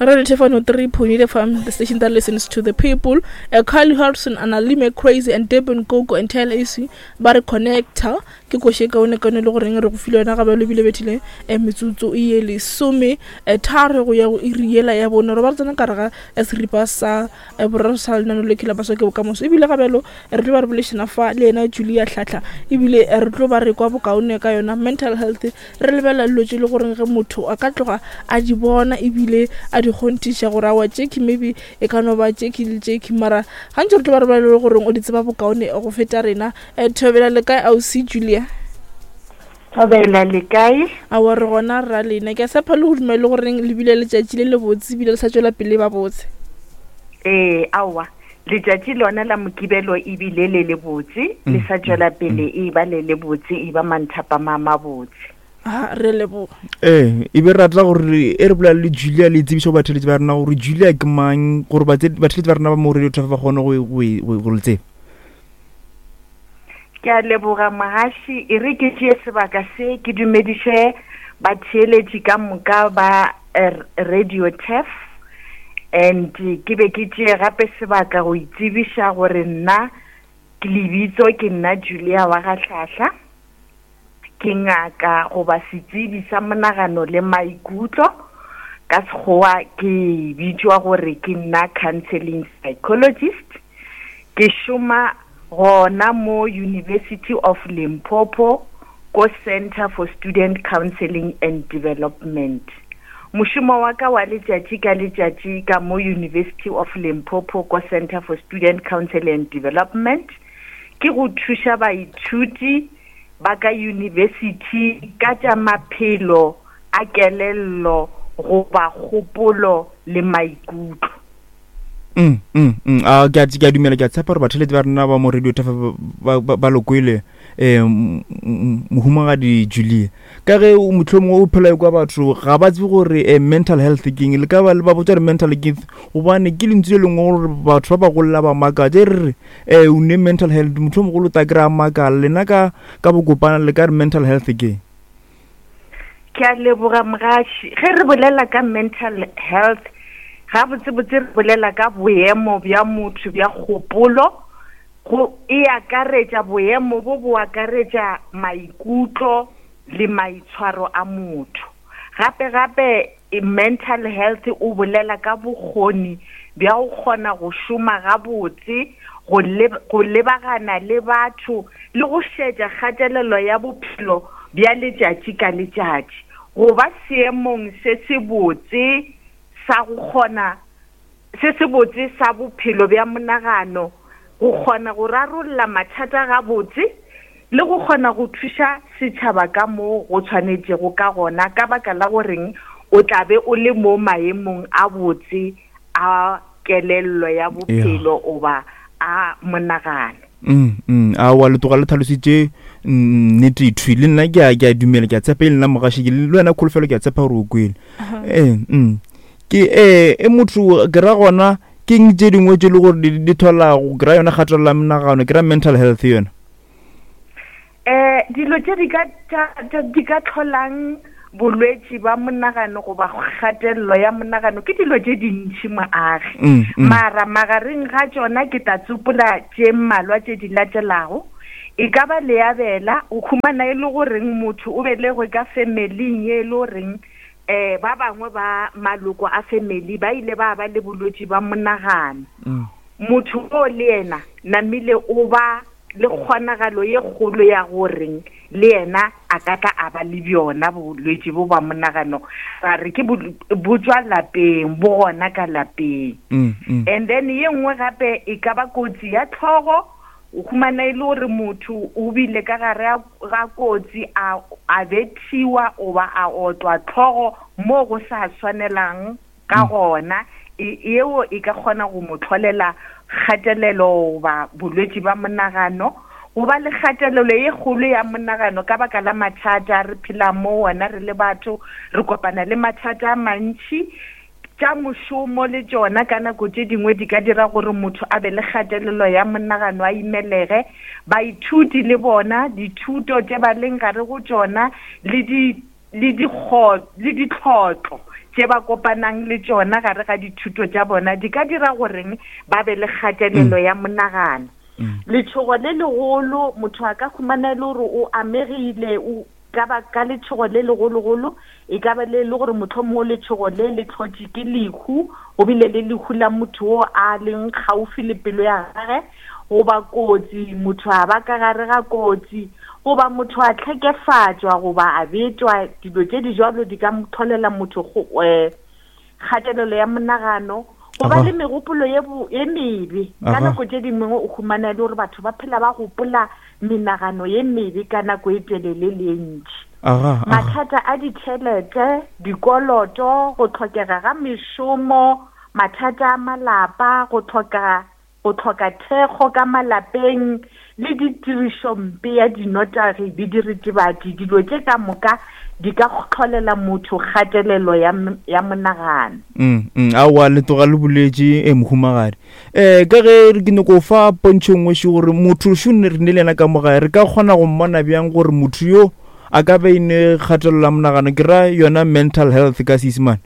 Radio Tefano 3.8 FM, the station that listens to the people. Uh, Carly Harrison, Analime Crazy, and Durban Gogo and Taylor AC ba re connector. Ke koše kaone kaone le goreng re go file yona gabe le bile bethile eh, metsotso e ye lesome eh, tharo go ya go iri yela ya bone re ba re tsena ka re ga eh, seripa sa eh, boraro sa lenano le khela baswa ke bokamoso ebile gabjalo re tlo ba re bolešana fa le yena Julia Tlhatlha ebile re tlo ba re kwa bokaone ka yona mental health Re lebelela dilo tše le goreng ge motho a ka tloga a di bona ebile a di kgonthiša gore awa tšekhi maybe e ka no ba tšekhi le tšekhi mara gantši re tlo ba re ba le goreng o di tseba bokaone go feta rena. Eh, Thobela le kae ausi Julia? Thobela le kae? Awa re gona rra lena. Ke a tshepa le go dumela le goreng le bile letšatši le lebotse ebile le sa tšwela pele ba botse. Ee, aowa. Letšatši lona la Mokibelo e bile le lebotse, le sa tšwela pele e ba le lebotse, e ba manthapama a mabotse. A re leboga. Ee, e be re rata gore e re bolela le Julia le tsebiša go batheletši ba rena gore Julia ke mang, gore batheletši ba rena ba mo Radio Traffic ba kgone go le tseba. Ke a leboga mogaši, e re ke tšee sebaka se ke dumediše batheeletši ka moka ba eh, Radio Turf and ke be ke tšee gape sebaka go itsebiša gore nna ke lebitso ke nna Julia wa Gahlahla. Ke ngaka goba setsebi sa monagano le maikutlo. Ka Sekgowa ke bitšwa gore ke nna counseling psychologist. Ke šoma gona mo University of Limpopo ko Centre for Student Counseling and Development. Mošomo wa ka wa letšatši ka letšatši ka mo University of Limpopo ko Centre for Student Counseling and Development ke go thuša baithuti ba ka yunibesithi ka tša maphelo a kelello goba kgopolo le maikutlo. Mm, mm, mm. A ke a ke a dumela ke a tshepa gore batheletsi ba rena ba mo radio tafa ba ba ba lokwele eh mohumagadi Julia ka ge o mohlomongwe o phela kwa batho ga ba tsebe gore eh, mental health ke eng le ka ba le ba botsa gore mental ke eng gobane ke lentswe le lengwe gore batho ba bagolo ba makatša e re re eh o ne mental health motho o mogolo ta kry-a makala lena ka ka bokopana le ka re mental health ke Ke a leboga mogaši. Ge re bolela ka mental health, gabotsebotse re bolela ka boemo bja motho bja kgopolo. Go e akaretša boemo bo bo akaretša maikutlo le maitshwaro a motho. Gape gape Mental health o bolela ka bokgoni bja go kgona go šoma gabotse, go go lebagana le batho le go šetša kgatelelo ya bophelo bja letšatši ka letšatši. Go ba seemong se sebotse sa go kgona se sebotse sa bophelo bja monagano, go kgona go rarolla mathata gabotse le go kgona go thuša setšhaba ka mo go tshwanetšego ka gona ka baka la goreng o tla be o le mo maemong a botse a kelello ya bophelo goba a monagano. Mm, mm, aowa le tloga le tlhalositše nnete thwi le nna ke a ke a dumela ke a tshepa e le nna mogaši ke le wena kholofelo ke a tshepa gore o kwele ee mm. Ke ee e motho ke ra gona ke eng tše dingwe tše le gore di tholago ke ra yona kgatelelo ya menagano ke ra mental health yona. Eh dilo tše di ka di ka tlholang bolwetši ba monagano goba kgatelelo ya monagano ke dilo tše dintši moagi mm, mm. mara magareng ga tšona ke tla tsopola tše mmalwa tše di latelago e ka ba leabela o khumana e le goreng motho o belegwe ka familing ye e le goreng um ba bangwe ba maloko a family ba ile ba ba le bolwetši ba monagano mm. motho o le yena namile o ba le kgonagalo ye kgolo ya goreng le yena a ka tla a ba le bjona bolwetši bo ba monagano ra re ke bo tšwa lapeng bo gona ka lapeng mm, mm. and then ye nngwe gape e ka ba kotsi ya tlhogo O humana e le gore motho o bile ka gare ga kotsi a, a bethiwa goba a otlwa tlhogo mo go sa swanelang ka mm. gona, e, yeo e ka kgona go mo tlholela kgatelelo goba bolwetši ba monagano. Go ba le kgatelelo ye kgolo ya monagano ka baka la mathata re phelang mo wona re le batho, re kopana le mathata a mantši. Tša mošomo le tšona ka nako tše dingwe di ka dira gore motho a be le kgatelelo ya monagano a imelege. Baithuti le bona, dithuto tše ba leng gare go tšona le di le le ditlhotlo tše ba kopanang le tšona gare ga dithuto tša bona di ka dira goreng ba be le kgatelelo mm. ya monagano mm. letšhogo le legolo motho a ka humana e le gore o amegile o ka ba ka letšhogo le legologolo e ka ba le le gore mohlomongwe letšhogo le le tlhotše ke lehu go bile le lehu la motho o a leng kgaufi le pelo ya gage goba kotsi motho a ba ka gare ga kotsi goba motho a tlhekefatšwa goba a betwa dilo tše di jalo di ka tlholela motho um kgatelelo ya monagano go ba le megopolo ye ye mebe ka nako tše dingwe o humana e le gore batho ba phela ba gopola menagano ye mebe ka nako e telele le e ntši mathata a ditšhelete dikoloto go tlhokega ga mešomo mathata a malapa go tlhoka go hloka thekgo ka malapeng le ditirišompe ya dinotagi le diritibatši, dilo tše ka moka di ka hlolela motho kgatelelo ya, ya monagano. Mm, mm, aowa le tloga le boletše e mohumagadi um ka ge ke nyako fa pontšho nngwe še gore motho šo ne re ne le yena ka mo gae re ka kgona go mmona bjang gore motho yo a ka be ne kgatelelo ya monagano ke ra yona mental health ka seisemane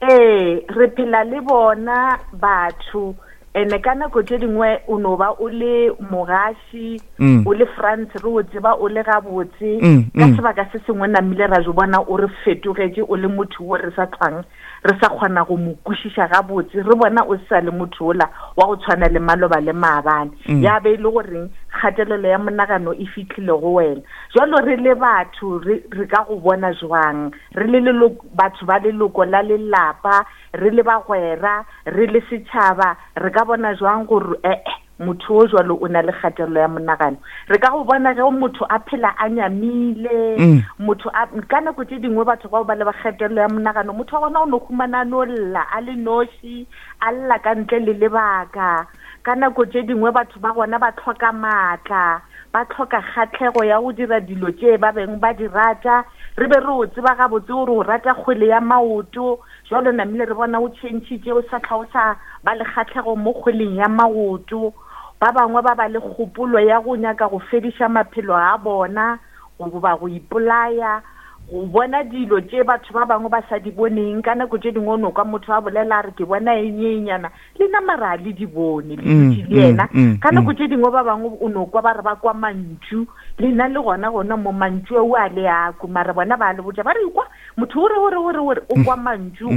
Ee, re phela le bona batho ene ka nako tše dingwe o no ba o le mogaši mm. o le France re o tseba o le gabotse mm, ka mm. sebaka se sengwe namile ra jo bona o re fetogetše o le motho wo re sa tlhwang re sa kgona go mo kwešiša gabotse re bona o sa le motho ola wa go tshwana le maloba le maabane ya be e le goreng kgatelelo ya monagano e fitlhile go wena jalo re le batho re ka go bona jwang re le leloko, batho ba leloko la lelapa, re le bagwera, re le setšhaba, re ka bona jwang gore ee motho o jwalo o na le kgatelelo ya monagano? Re ka go bona ge motho a phela a nyamile, mm. motho a ka nako tše dingwe batho bao ba le ba kgatelelo ya monagano, motho wa gona o no humana a no lla a le noši, a lla ka ntle le lebaka. Ka nako tše dingwe batho ba gona ba tlhoka maatla, ba tlhoka kgatlhego ya go dira dilo tše ba beng ba di rata. Re be re o tseba gabotse gore o rata kgwele ya maoto, jwalo namile re bona o tšhentšhitše o sa tlha o sa ba le kgatlhego mo kgweleng ya maoto. Ba bangwe ba ba le kgopolo ya go nyaka go fediša maphelo a bona goba go ipolaya, go bona dilo tše batho ba bangwe ba sa di boneng. Ka nako tše dingwe o no kwa motho a bolela a re ke bona eng ye nyana, le na mara a le di bone le mm, dutše le yena mm, mm, ka nako tše dingwe ba bangwe o no kwa ba re ba kwa mantšu lena le gona gona mo mantšu ao a le ako mara bona ba le botša ba re kwa motho o re o re o re o re o kwa mantšu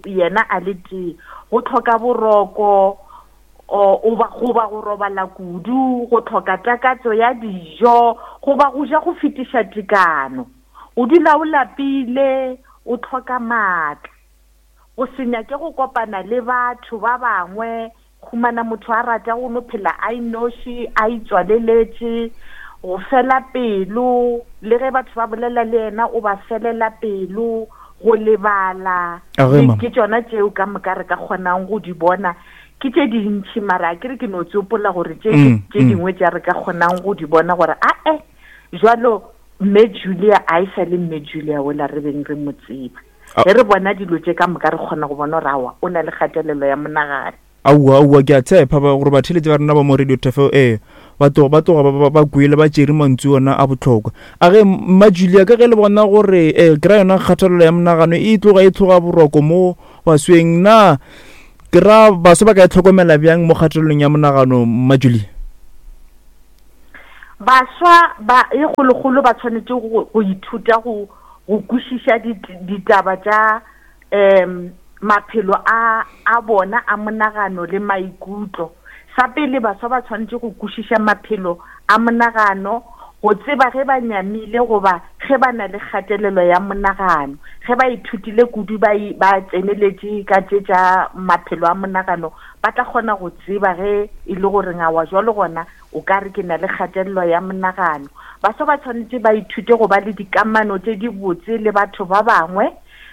yena a le tee go tlhoka boroko goba goba go robala kudu go tlhoka takatso ya dijo goba go ja go fetiša tekano o dula o lapile o tlhoka maatla Go se nyake go kopana le batho ba bangwe, humana motho a rata go no phela a inoši, a itswaleletše, go fela pelo, le ge batho ba bolela le yena o ba felela pelo, go lebala. Ke tšona tšeo ka moka re ka kgonang go di bona. Ke tše dintši mara a ke re ke no tsopola gore tše mm, tše mm. dingwe tša re ka kgonang go di bona gore ae jwalo mme Julia a e sa le mme Julia ola re beng re mo tseba. Ge re bona dilo tše ka moka re kgona go bona gore aowa o na le kgatelelo ya monagano. Aowa, aowa, ke a tshepa ba, gore batheeletši ba rena ba mo Radio Tafel ee, ba tloga, ba tloga ba, ba, ba kwele ba tšere mantšu ona a bohlokwa. A ge, Mma Julia, ka ge le bona gore eh, ke ra yona kgatelelo ya monagano e tloga e tlhoga boroko mo basweng, na ke ra baswa ba ka e hlokomela bjang mo kgatelelong ya monagano, Mma Julia? Baswa ba e kgolokgolo ba tshwanetše go, go ithuta go go kwešiša ditaba tša um maphelo a a bona a monagano le maikutlo. Sa pele, baswa ba tshwanetše go kwešiša maphelo a monagano, go tseba ge ba nyamile goba ge ba na le kgatelelo ya monagano. Ge ba ithutile kudu ba ba tseneletše ka tše tša maphelo a monagano, ba tla kgona go tseba ge e le gore ngawa jwalo gona O ka re ke na le kgatelelo ya monagano. Baswa ba tshwanetše ba ithute go ba le dikamano tše dibotse le batho ba bangwe,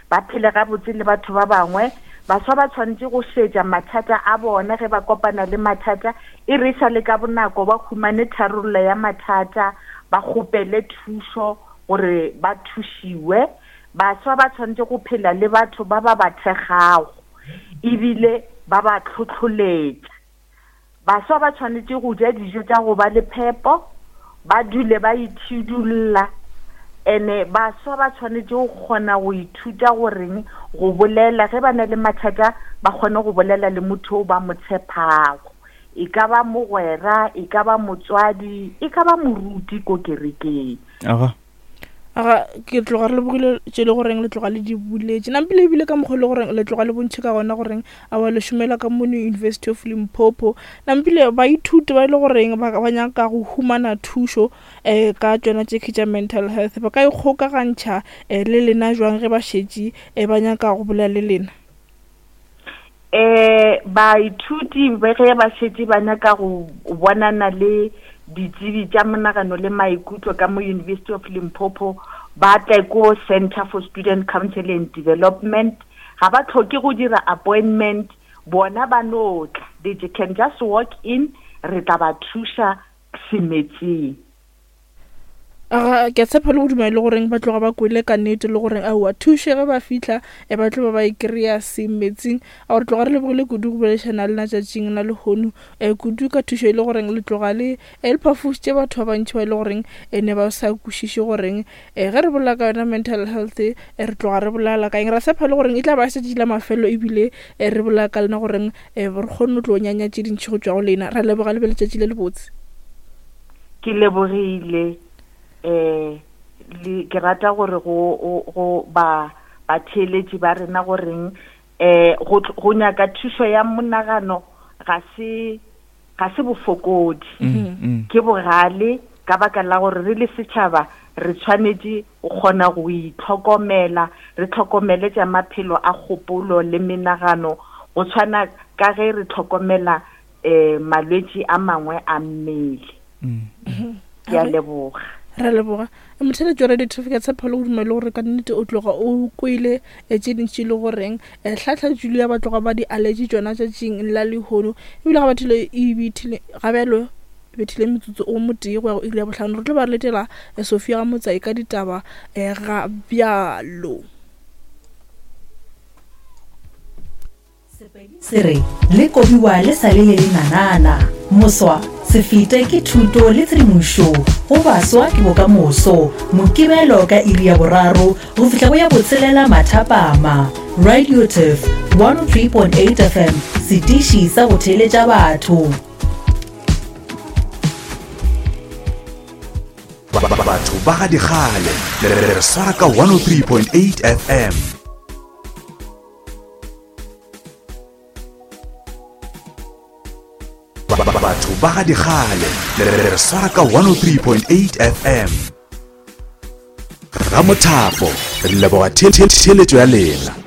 ba phele gabotse le batho ba bangwe. Baswa ba tshwanetše go šetša mathata a bona ge ba kopana le mathata, e re e sa le ka bonako ba humane tharollo ya mathata, ba kgopele thušo gore ba thušiwe. Baswa ba tshwanetše go phela le batho ba ba ba thekgago ebile ba ba hlohloletša. Baswa ba tshwanetše go ja dijo tša go ba le phepo, ba dule ba itšhidulla. Ene baswa ba tshwanetše go kgona go ithuta goreng go bolela ge ba na le mathata, ba kgone go bolela le motho o ba mo tshepago. E ka ba mogwera, e ka ba motswadi, e ka ba moruti ko kerekeng. Aga. Aga, ke tloga re lebogile tše le goreng le tloga le di buletše. Nampile ebile ka mokgwa le goreng le tloga le bontšhe ka gona goreng awa le šomela ka mono University of Limpopo. Nampile baithuti ba e le goreng ba ba nyaka go humana thušo um ka tšona tše tša mental health ba ka ikgokagantšha um le lena jwang ge ba šetše um ba nyaka go bolela le lena? Um baithuti ge ba šetše ba nyaka go bonana le ditsebi tša monagano le maikutlo ka mo University of Limpopo, ba tle ko Center for Student Counseling and Development. Ga ba tlhoke go dira appointment, bona ba no tla. They can just walk in, re tla ba thuša semetseng. Aga, ke a tshepa le go dumela le goreng ba tloga ba kwele ka nnete le goreng aowa thuše ge ba fihla e ba tlo ba ba e kry-a semetsing. A gore tloga re lebogile kudu go boledišana le lena tšatšing la lehono um kudu ka thušo e le goreng le tloga le e le phafošitše batho ba bantši ba e le goreng e ne ba sa kwešiše goreng um ge re bolela ka yona mental health e re tloga re bolela ka eng. Ra tshepa le goreng e tla ba šetše la mafelo ebile e re bolela ka lena goreng um re kgone go tlo nyanya tše dintši go tšwa go lena. Ra leboga le be letšatši le lebotse. Ke lebogile eh le ke rata gore go go ba batheeletši ba rena goreng eh go go nyaka thušo ya monagano ga se ga se bofokodi mm, mm. ke bogale ka baka la gore re le setšhaba re tshwanetše go kgona go itlhokomela re tlhokomele tša maphelo a kgopolo le menagano go tshwana ka ge re tlhokomela um malwetši a mangwe a mmele. Ke a leboga. Re leboga motheletši wa radio traffic ya tshepo le go dumela gore ka nnete o tloga o kwele eh, tše dintši le goreng eh, tlhatlha julia ba tloga ba di aletše tšona tšatšing la lehono ebile ga bathile e bethile ga bjalo bethile metsotso o motee go ya go iri ya bohlano re tlo ba re letela eh, sophia ga motsai ka ditaba ga bjalo. Sepedi se re, Le kobiwa le sa le le lenanana. Moswa, se fete ke thuto le tshedimošo. Go baswa ke bokamoso. Mokibelo ka iri ya boraro go fihla go ya botshelela mathapama. Radio Turf 103.8 FM, setiši sa go theeletša batho. Batho ba ga dikgale le re swara ka 103.8 FM. Batho ba ga dikgale le re swara ka 103.8 FM. Ramothapo re leboga theeletšo ya lena.